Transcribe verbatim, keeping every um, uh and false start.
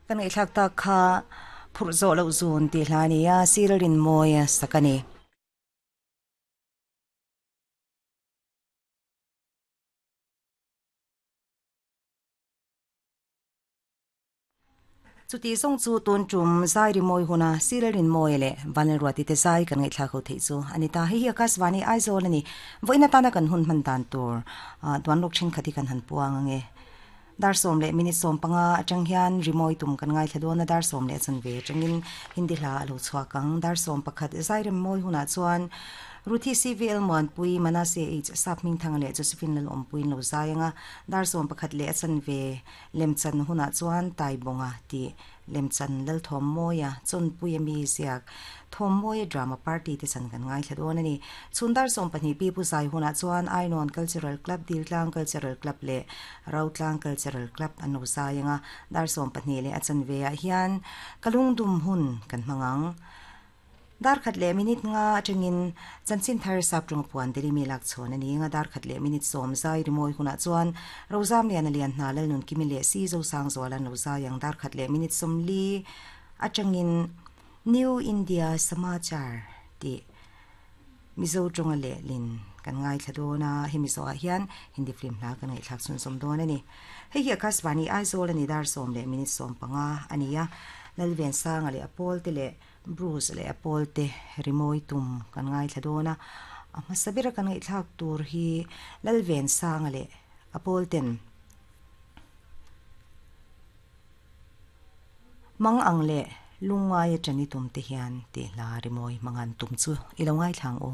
Kan ngai thlak ta kha phur zo lo zun ti hlania silrin moya sakani. Chuti song chu tun tum zai ri moi huna silrin moi le vanel ruati te zai kan ngai thla kho thei chu anita hi hi akaswani Aizawl ani voina tana kan hun man dan tur duan lok thin khati kan han puang ange dar som le minute som panga atang hian rimoi tum kan ngai thladona dar som le chan ve tangin hindi hla alo chhuakang dar som pakhat zai rem moi huna chuan Ruthi C V L mon pui Manase H sapming thang le Josephine lal om puin lo zayanga dar som pakhat le chan ve lemchan huna chuan tai bonga ti lemchan lal thom moya chon pui mi ziak thom moya drama party te chan kan ngai thladona ni chundar som pahnih pi pu zai huna chuan Ainon Cultural Club Diltlang Cultural Club le Rautlang Cultural Club an lo zayanga dar som pahnih le achan ve a hian kalung dum hun kan mangang dar khat le minute nga atangin chanchin thar sap tung puan deli mi lak chon ani nga dar khat le minute som zai rimoi huna chuan rozam lian alian na lal nun kimi le si zo sang zolan lo zai ang dar khat le minute som li atangin New India Samachar ti mizo tonga le lin kan ngai thladona hemi zo a hian Hindi film hla kan ngai thlak chun som don ani hei hi Akashvani Aizawl ani dar som le minute som panga ania lalven sang ale apol te le Bruce le Apple te rimoi tum kan ngai thladona ama sabira kan ngai thlak tur hi lalven sang ale Apple ten mang ang le lungai chani tum te hian te la rimoi mangan tum chu ilo ngai thlang o.